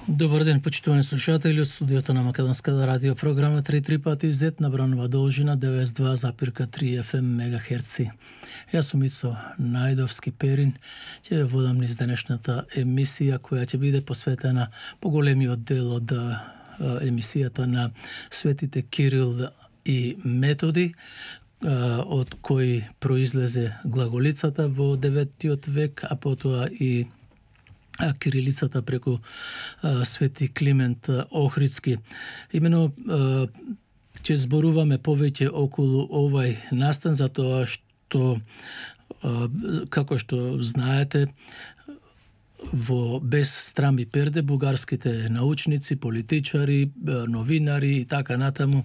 Добар ден, почитувани слушатели од студиото на Македонската радио програма 3 пати Z на бранова должина 92,3 FM мегахерци. Јас сум Ицо Најдовски Перин, ќе ве водам низ денешната емисија која ќе биде посветена поголемиот дел од емисијата на светите Кирил и Методи, од кои произлезе глаголицата во 9 век, а потоа и кирилицата преку свети Климент Охридски. Имено ќе зборуваме повеќе околу овај настан, затоа што, како што знаете, во без страм и перде бугарските научници, политичари, новинари и така натаму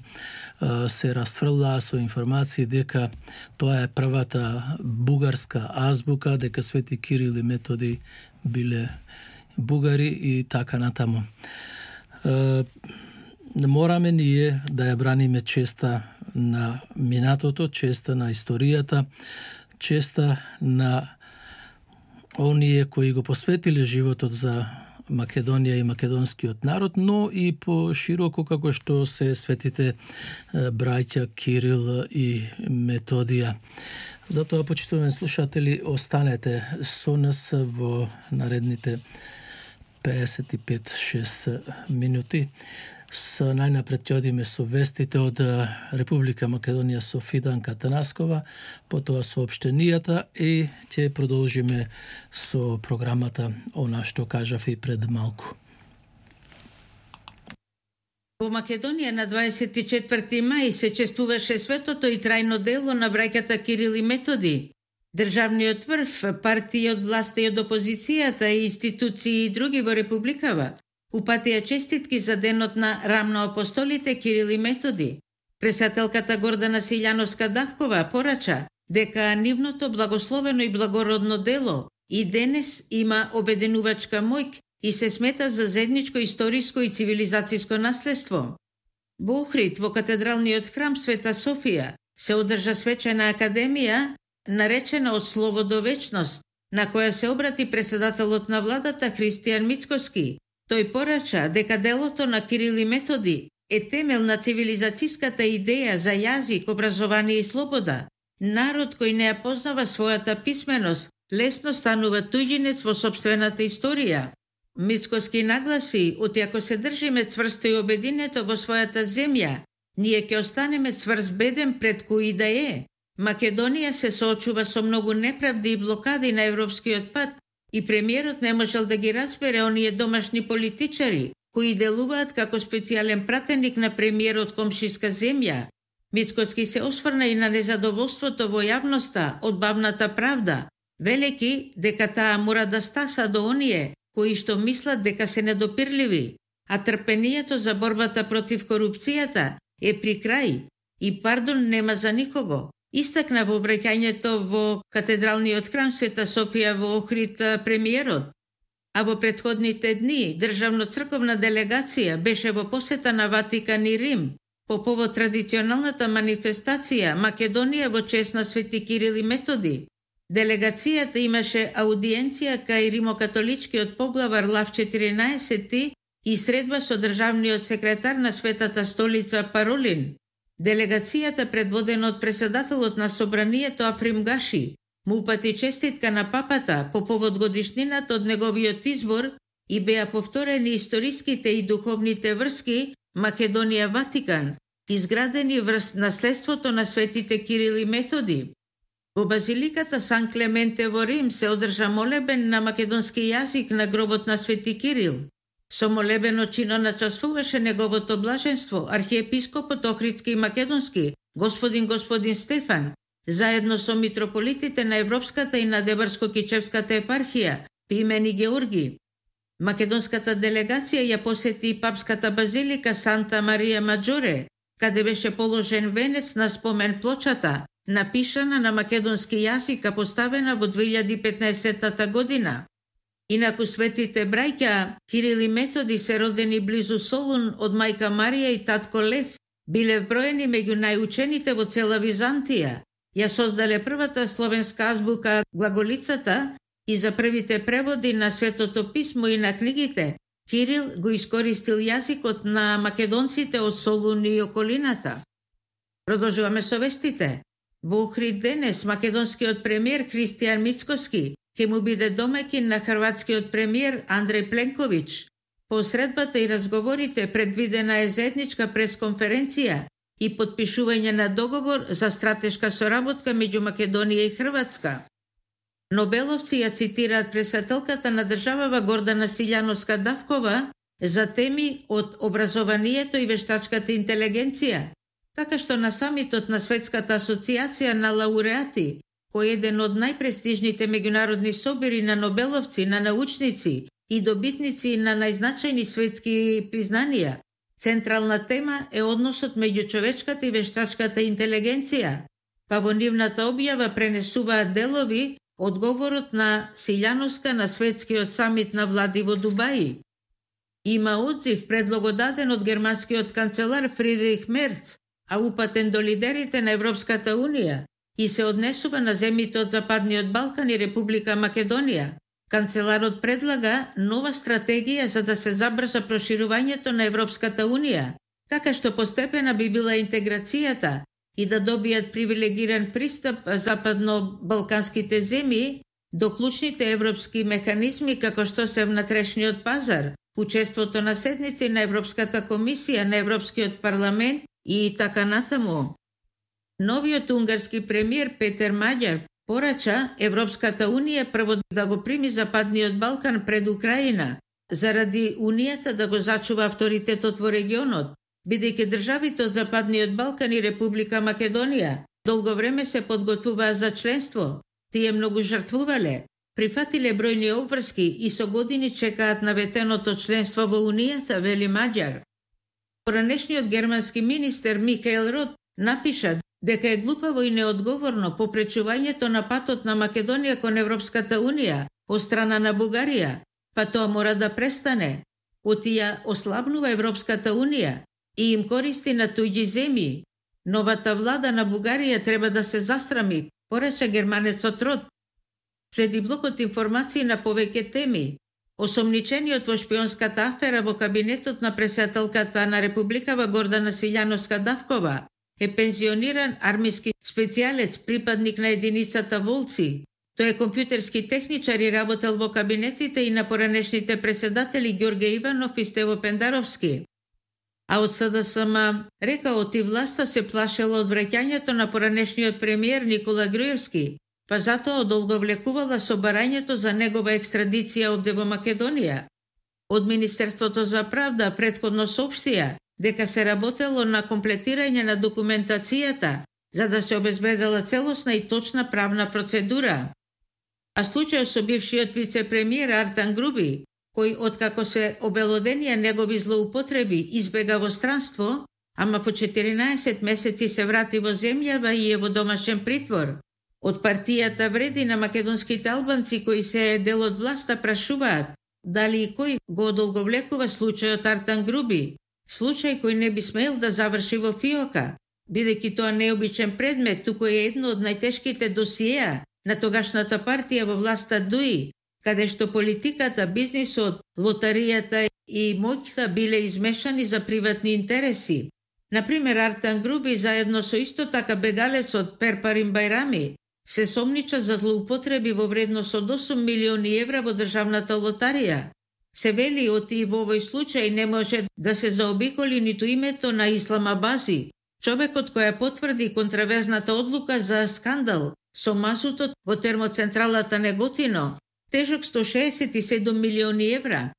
се расфрлаа со информации дека тоа е првата бугарска азбука, дека свети Кирил и Методи биле бугари и така натаму. Мораме ние да ја браниме честа на минатото, честа на историјата, честа на оние кои го посветиле животот за Македонија и македонскиот народ, но и по широко како што се светите браќа Кирил и Методија. Затоа, почитувани слушатели, останете со нас во наредните 55-6 минути. Најнапред ќе одиме со вестите од Република Македонија со Фиданка Танаскова, потоа соопштенијата и ќе продолжиме со програмата она што кажав и пред малку. Во Македонија на 24 мај се чествуваше светото и трајно дело на браќата Кирил и Методи. Државниот врв, партии од власта и од опозицијата и институции и други во републикава упатија честитки за денот на рамноапостолите Кирил и Методи. Пресателката Гордана Силјановска-Давкова порача дека нивното благословено и благородно дело и денес има обединувачка моќ и се смета за заедничко историско и цивилизацијско наследство. Во Охрид, во катедралниот храм Света Софија, се одржа свечена академија, наречена Од слово до вечност, на која се обрати председателот на владата Христијан Мицкоски. Тој порача дека делото на Кирил и Методи е темел на цивилизацијската идеја за јазик, образование и слобода. Народ кој не ја познава својата писменост, лесно станува туѓинец во сопствената историја. Мицкоски нагласи, оти ако се држиме цврсто и обединето во својата земја, ние ќе останеме цврст-беден пред кој да е. Македонија се соочува со многу неправди и блокади на европскиот пат и премиерот не можел да ги разбере оние домашни политичари кои делуваат како специјален пратеник на премиерот комшиска земја. Мицкоски се осврна и на незадоволството во јавноста од бавната правда, велеки дека таа мора да стаса до оние кои што мислат дека се недопирливи, а трпението за борбата против корупцијата е при крај и пардон нема за никого. Истакна во обраќањето во катедралниот храм Света Софија во Охрид премиерот. А во претходните дни државно-црковна делегација беше во посета на Ватикан и Рим по повод традиционалната манифестација Македонија во чест на свети Кирил и Методи. Делегацијата имаше аудиенција кај римокатоличкиот поглавар Лав 14 и средба со државниот секретар на Светата столица Паролин. Делегацијата, предводена од председателот на собранието Африм Гаши, му упати честитка на папата по повод годишнината од неговиот избор и беа повторени историските и духовните врски Македонија-Ватикан, изградени врз наследството на светите Кирил и Методи. Во базиликата Сан Клементе во Рим се одржа молебен на македонски јазик на гробот на свети Кирил. Со молебено чино начествуваше неговото блаженство, архиепископот Охридски и Македонски, господин Стефан, заедно со митрополитите на Европската и на Дебарско-Кичевската епархија, Пимен и Георги. Македонската делегација ја посети папската базилика Санта Марија Маджоре, каде беше положен венец на спомен плочата, напишана на македонски јазик, а поставена во 2015 година. Инаку светите браќа Кирил и Методи се родени близу Солун од мајка Марија и татко Лев, биле вброени меѓу најучените во цела Византија. Ја создале првата словенска азбука глаголицата и за првите преводи на Светото писмо и на книгите Кирил го искористил јазикот на македонците од Солун и околината. Продолжуваме со вестите. Во Охрид денес македонскиот премиер Христијан Мицкоски ќе му биде домаќин на хрватскиот премиер Андреј Пленковиќ. По средбата и разговорите предвидена е заедничка пресконференција и потпишување на договор за стратешка соработка меѓу Македонија и Хрватска. Нобеловци ја цитираат председателката на државава Гордана Силјановска-Давкова за теми од образованието и вештачката интелигенција, така што на самитот на Светската асоциација на лауреати, кој е еден од најпрестижните меѓународни собори на нобеловци, на научници и добитници на најзначајни светски признанија, централна тема е односот меѓу човечката и вештачката интелигенција, па во нивната објава пренесуваат делови од говорот на Силјановска на светскиот самит на влади во Дубај. Има одзив предлогот даден од германскиот канцелар Фридрих Мерц, а упатен до лидерите на Европската Унија и се однесува на земјите од Западниот Балкан и Република Македонија. Канцеларот предлага нова стратегија за да се забрза проширувањето на Европската Унија, така што постепена би била интеграцијата и да добијат привилегиран пристап западно-балканските земји до клучните европски механизми како што се внатрешниот пазар, учеството на седници на Европската комисија, на Европскиот парламент и така натаму. Новиот унгарски премиер Петер Маѓар порача Европската Унија прво да го прими Западниот Балкан пред Украина, заради Унијата да го зачува авторитетот во регионот, бидејќи државите од Западниот Балкан и Република Македонија долго време се подготвуваа за членство. Тие многу жртвувале, прифатиле бројни обврски и со години чекаат наветеното членство во Унијата, вели Маѓар. Поранешниот германски министер Михаел Рот напиша дека е глупаво и неодговорно попречувањето на патот на Македонија кон Европската Унија од страна на Бугарија, па тоа мора да престане. Отија ослабнува Европската Унија и им користи на туѓи земји. Новата влада на Бугарија треба да се застрами, порача германецот Рот. Следи блокот информации на повеќе теми. Осомничениот во шпионската афера во кабинетот на председателката на Републикава Гордана Силјановска-Давкова е пензиониран армиски специјалец, припадник на единицата Волци. Тој е компјутерски техничар и работел во кабинетите и на поранешните председатели Ѓорге Иванов и Стево Пендаровски. А од СДСМ рекаот и власта се плашела од враќањето на поранешниот премиер Никола Груевски, па затоа одолговлекувала со барањето за негова екстрадиција овде во Македонија. Од Министерството за правда претходно соопштија дека се работело на комплетирање на документацијата за да се обезбедела целосна и точна правна процедура. А случајот со бившиот вице-премиер Артан Груби, кој откако се обелоденија негови злоупотреби избега во странство, ама по 14 месеци се врати во земјава и е во домашен притвор. Од партијата Вреди на македонските албанци кои се дел од власта прашуваат дали и кој го одолговлекува случајот Артан Груби, случај кој не би смел да заврши во фиока, бидејќи тоа не е обичен предмет, туку е едно од најтешките досиеа на тогашната партија во власта ДУИ, каде што политиката, бизнисот, лотаријата и моќта биле измешани за приватни интереси. Например, Артан Груби заедно со исто така бегалецот Перпарин Бајрами се сомнича за злоупотреби во вредност од 8 милиони евра во државната лотарија. Се вели оти во овој случај не може да се заобиколи ниту името на Ислам Абази, човекот кој потврди контравезната одлука за скандал со мазутот во термоцентралата Неготино, тежок 167 милиони евра.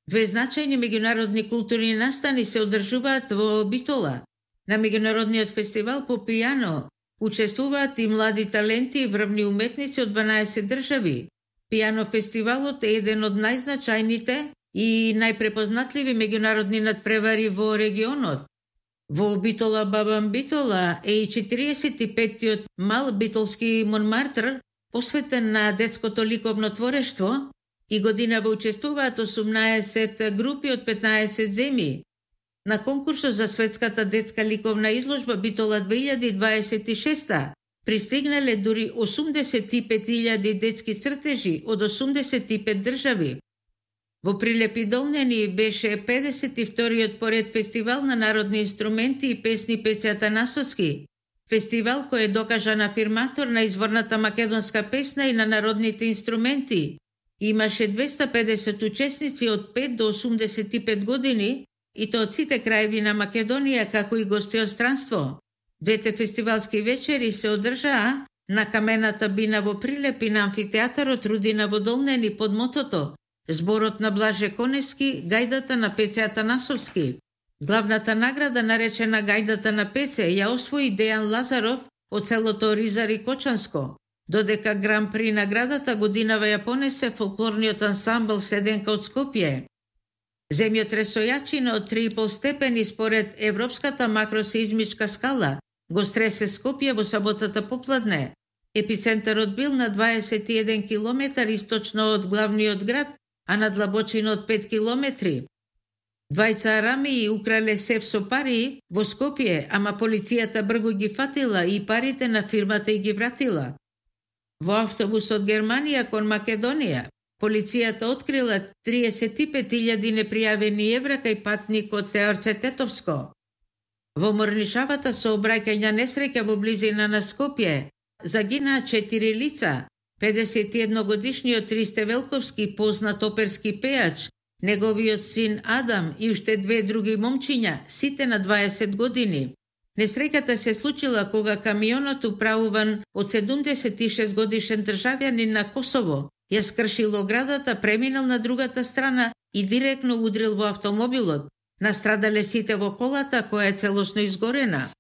Две значајни меѓународни културни настани се одржуваат во Битола. На меѓународниот фестивал по пијано учествуваат и млади таленти и врвни уметници од 12 држави. Пијано фестивалот е еден од најзначајните и најпрепознатливи меѓународни надпревари во регионот. Во Битола Бабам Битола е и 45-тиот мал битолски Монмартр, посветен на детското ликовно творештво, и годинава учествуваат 18 групи од 15 земји. На конкурсот за светската детска ликовна изложба Битола 2026 пристигнале дури 85.000 детски цртежи од 85 држави. Во Прилепи Долнени беше 52-иот поред фестивал на народни инструменти и песни Пеце Атанасовски. Фестивал кој е докажан афирматор на изворната македонска песна и на народните инструменти. Имаше 250 учесници од 5 до 85 години и то од сите краеви на Македонија, како и гости од странство. Двете фестивалски вечери се одржаа на камената бина во Прилепи на амфитеатарот Рудина во Долнени под мотото Зборот на Блаже Конески, гајдата на Пеце Атанасовски. Главната награда, наречена Гајдата на Пеце, ја освои Дејан Лазаров од селото Ризари Кочанско, додека гран-при наградата годинава ја понесе фолклорниот ансамбл Седенка од Скопје. Земјотресојачина од 3,5 степени според Европската макросеизмичка скала го стресе Скопје во саботата попладне. Епицентарот бил на 21 километар источно од главниот град, а на длабочина од 5 километри. Двајца арамии украле сев со пари во Скопје, ама полицијата брзо ги фатила и парите на фирмата и ги вратила. Во автобус од Германија кон Македонија, полицијата открила 35.000 непријавени евра кај патникот Теорце Тетовско. Во морнишавата сообраќајна несреќа во близина на Скопје загинаа 4 лица, 51-годишниот Ристе Велковски, познат оперски пејач, неговиот син Адам и уште 2 други момчиња, сите на 20 години. Несреќата се случила кога камионот управуван од 76 годишен државјанин на Косово ја скршил оградата, преминал на другата страна и директно удрил во автомобилот. Настрадале сите во колата, која е целосно изгорена.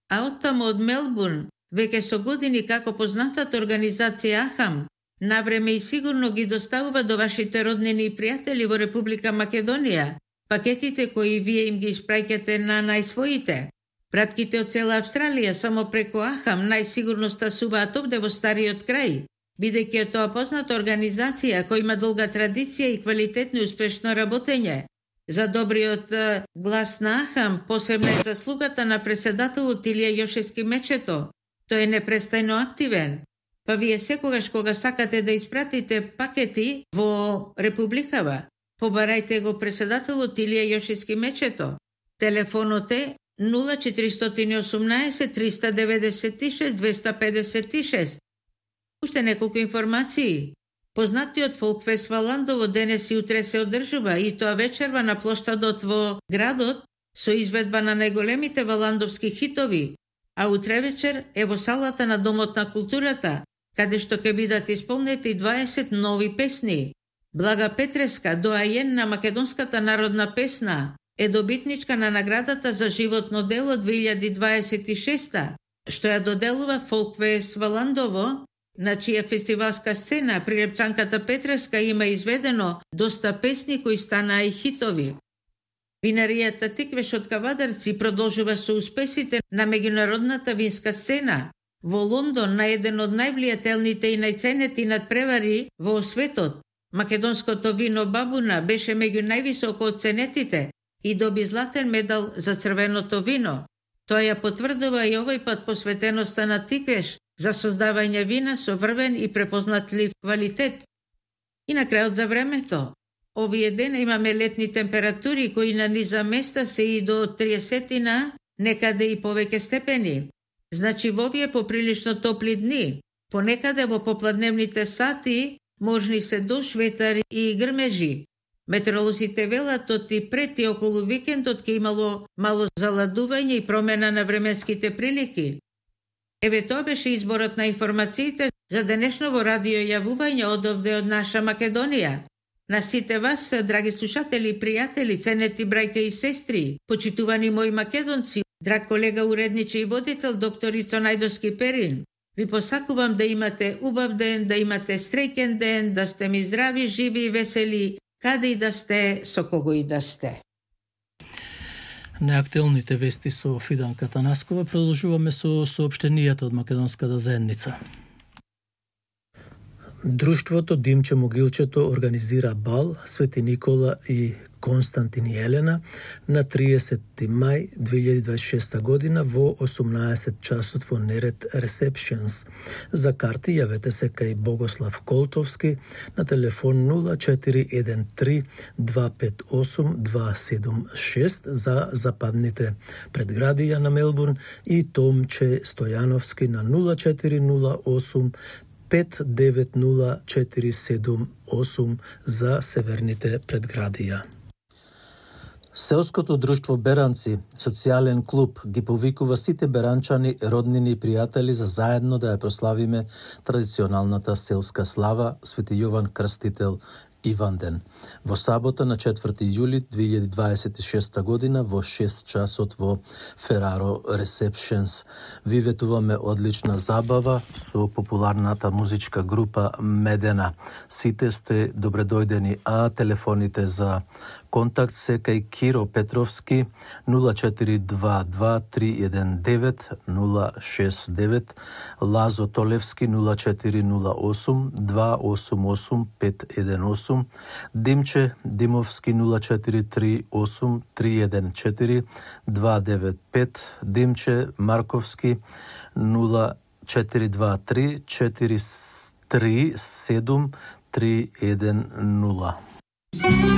А оттаму од Мелбурн, веќе со години како познатата организација АХАМ, навреме и сигурно ги доставува до вашите роднини и пријатели во Република Македонија пакетите кои вие им ги испраќате на најсвоите. Пратките од цела Австралија само преку АХАМ најсигурно стасуваат овде во стариот крај, бидејќи е тоа позната организација која има долга традиција и квалитетно и успешно работење. За добриот глас на АХАМ посебна е заслугата на председателот Илија Јошевски Мечето. Тој е непрестајно активен. Па вие секогаш кога сакате да испратите пакети во Републикава, побарајте го председателот Илија Јошевски Мечето. Телефонот е 0418 396 256. Уште неколку информации. Познатиот фолкфест Валандово денес и утре се одржува и тоа вечерва на плоштадот во градот со изведба на најголемите валандовски хитови, а утре вечер е во салата на Домот на културата, каде што ќе бидат исполнети 20 нови песни. Блага Петреска, доајен на македонската народна песна, е добитничка на наградата за животно дело 2026, што ја доделува фолкфест Валандово, на чија фестивалска сцена прилепчанката Петреска има изведено доста песни кои станаа и хитови. Винаријата Тиквеш од Кавадарци продолжува со успесите на меѓународната винска сцена. Во Лондон, на еден од највлијателните и најценети надпревари во светот, македонското вино Бабуна беше меѓу највисоко оценетите и доби златен медал за црвеното вино. Тоа ја потврдува и овој пат посветеноста на Тиквеш за создавање вина со врвен и препознатлив квалитет. И на крајот за времето. Овие дена имаме летни температури кои на низа места се и до 30, некаде и повеќе степени. Значи во овие поприлично топли дни, понекаде во попладневните сати можни се дош, ветар и грмежи. Метеоролозите велат оти пред и околу викендот ќе имало мало заладување и промена на временските прилики. Еве тоа беше изборот на информациите за денешново радио јавување од овде од наша Македонија. На сите вас, драги слушатели и пријатели, ценети брајка и сестри, почитувани мои македонци, драг колега уредниче и водител доктор Ицо Најдовски Перин, ви посакувам да имате убав ден, да имате среќен ден, да сте ми здрави, живи и весели, каде и да сте, со кого и да сте. Неактуелните вести со Фиданка Танаскова. Продолжуваме со соопштенијата од македонската заедница. Друштвото Димче Могилчето организира бал Свети Никола и Константин и Елена на 30 мај 2026 година во 18 часот во Неред Receptions. За карти јавете се кај Богослав Колтовски на телефон 0413 258 276 за западните предградија на Мелбурн и Томче Стојановски на 0408 590478 за северните предградија. Селското друштво Беранци, социјален клуб, ги повикува сите беранчани, роднини и пријатели за заедно да ја прославиме традиционалната селска слава Свети Јован Крстител Иванден. Во сабота на 4 јули 2026 година во 6 часот во Фераро Receptions. Ви ветуваме одлична забава со популарната музичка група Медена. Сите сте добредојдени, а телефоните за контакт се кај Киро Петровски 0422-319-069, Лазо Толевски 0408-288-518, Димче Димовски 0438-314-295, Димче Марковски 0423-437-310.